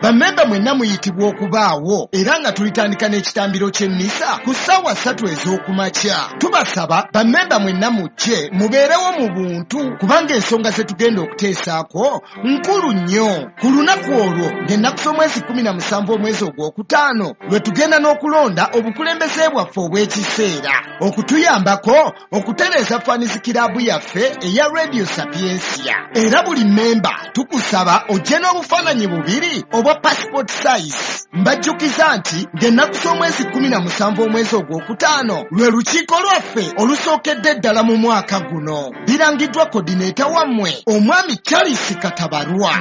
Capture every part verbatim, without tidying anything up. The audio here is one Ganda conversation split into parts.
Bammemba mwenna muyitibwa okubaawo era nga tulitandika n'ekitambiro ky'emmisa ku ssaawa ssatu ez'okumakya. Tubasaba bammemba mwenna mujje mubeerewo mu buntu kubanga ensonga ze tugenda okuteesaako nkulu nnyo. Ku lunaku olwo ng'ennaku z'omwezi kkumi na musanvu omwezi ogwokutaano lwe tugenda n'okulonda obukulembeze bwaffe obw'ekiseera okutuyambako okutereeza fans club yaffe eya Radio Sapientia. Era buli mmemba tukusaba ojje n'obufaananyi bubiri obwa passport size. Mbajjukiza nti ng'ennaku z'omwezi kkumi na musanvu omwezi ogwokutaano lwe lukiiko lwaffe olusookedde ddala mu mwaka guno. Birangiddwa coordinator wammwe omwami Charles Katabarwa.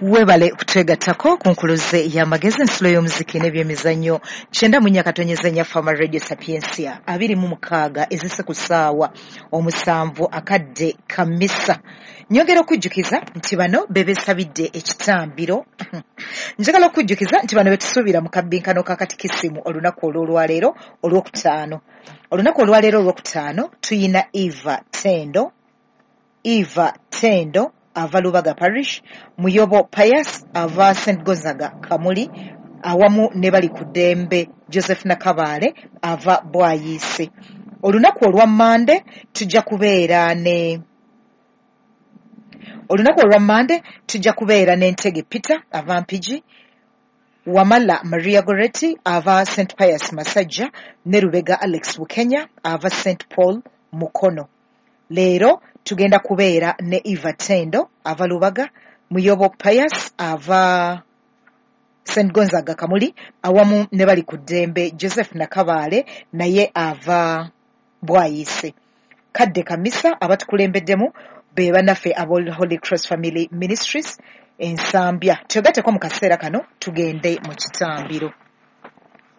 Webale kutwegattako ku nkuluze y'amagezi, ensulo y'omuziki n'ebyemizannyo kyenda mu nnya katonyeza nnya Fama Radio Sapientia abiri mu mukaaga ezise ku ssaawa omusanvu akadde kamisa. Nyongera okujjukiza nti bano be beesabidde ekitambiro. Njagala okujjukiza nti bano betusuubira mu kabbinkano ka katikisimu olunaku olw'olwaleero olwokutaano. Olunaku olwaleero olwokutaano tuyina Eva Tendo, Eva Tendo ava Lubaga Parish, Muyobo Pius ava Saint Gonzaga Kamuli, awamu ne bali ku ddembe Joseph Nakabaale ava Bwayiise. Olunaku olwa Mmande tujja kubeera ne Olunaku olwa Mmande tujja kubeera ne Ntege Peter ava Mpigi, Wamala Maria Goretti ava Saint Pius Masajja ne Lubega Alex Bukenya ava Saint Paul Mukono. Leero tugenda kubeera ne Eva Tendo ava Lubaga, Muyobo Pius ava Saint Gonzaga Kamuli, awamu ne bali ku ddembe Joseph Nakabaale naye ava Bwayiise. Kadde Kamisa abatukulembeddemu be bannaffe aba Holy Cross Family Ministries Ensambya. Twegatteko mu kaseera kano tugende mu kitambiro.